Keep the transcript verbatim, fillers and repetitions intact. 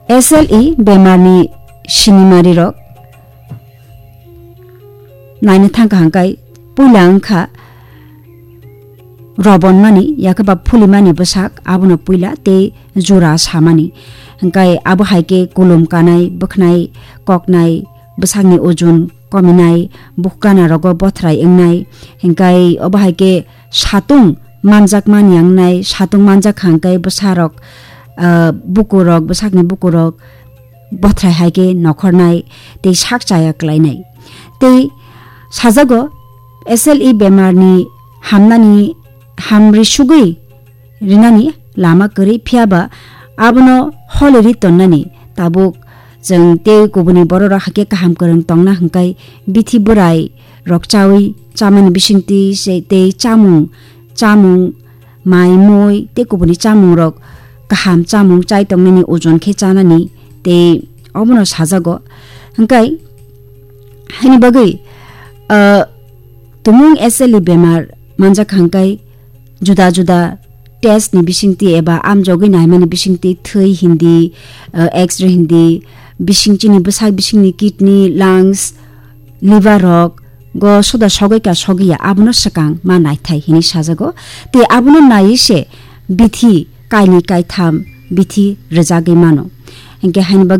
S L E bemarni sinimarirok naina thangkha hwnkhe puila wngkha robonmani, yakhe ba phulimani bwsak, abono puila tei jura samani. Hwnkhe abo hai khe kulum kanai, bwkhnai, koknai, bwsakni ujun kominai, bukhuk gana rogo bothrai wngnai, hwnkhe obo hai khe satung manjakmani wngnai, satung manjak kha hwnkhe bwsarok, ah, bukurok, bwsakni bukurok bothrai hai khe nokhornai tei sak chaya klainai. Tei sajago, S L E bemarni hamnani hamri sugwi rinani lama kwrwi, phiya ba abono holiri tonnani. Tabuk chwng tei kubuni bororok hakhe kaham kwrwng tongna hwnkhe bithi bwrai rok chawi chamani bisingtwi se tei chamung, chamung, mai, mui tei kubuni chamungrok kaham chamung chai tongnani ojon khe chanani tei obono sajago. Hwnkhe haini bagwi, ah, tumung S L E bemar manjak hwnkhe juda juda test ni bisingtwi eba amjogwi naimani bisingtwi thwi hindi, ah, X-ray hindi, bising chini bwsak bisingni kidney, lungs, liver rok go soda sogwi ka sogwi ya, abono swkang ma naithai hinwi sajago. Tei abono naiwi se bithi kainwi kaitham bithi rwjagwi mano. Hwnkhe haini bagwi